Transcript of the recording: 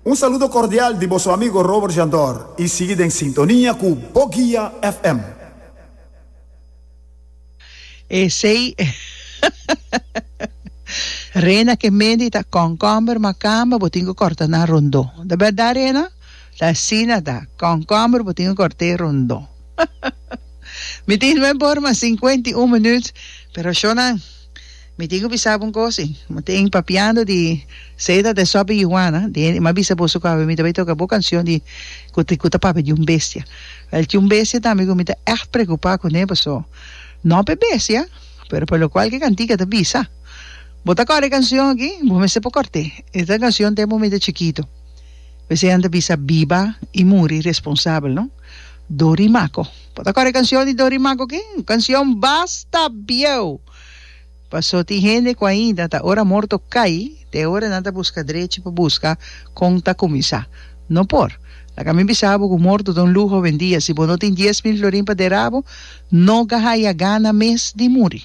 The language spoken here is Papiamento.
Un saludo cordial di boso amigo Robert Jandor y sigui den sintonia cu Boguia FM. Esey Rena ke mendi ta kònkòmber makamba bo tin ku kòrta nan rondó. Ta bèrdat Rena? Ta asina ta. Kònkòmber bo tin ku kòrt'é rondó. Mi tin nuebe ora mas 51 minüt, pero shownan. Mi tin ku bisa bo un kos si. Mi tin papiando di Seda de Sopi i Juana, di mi a bisa boso ku awe mi ta bai toka bo kanshon di ku ta ku ta papia di un bestia. Wèl tin un bestia tambe ku mi ta ègt preokupá kuné paso no pa e bestia, pero pa lokual ku e kantika ta bisa. Bo ta kòrda e kanshon aki? Bo mester por kòrt'é. E ta kanshon tempu mi ta chikitu. P'esei nan ta bisa biba i muri responsabel, no? Dorimaco. Bo ta kòrda e kanshon di Dorimaco aki? Un kanshon basta bieu! Paso tin hende ku ainda ta ora morto kai, te ora nan ta buska drechi pa buska kon ta kuminsá. No por. Laga mi bisa bo ku morto ta un luho awendia. Si bo no tin 10,000 florin pa dera bo, no ga haya gana mes di muri.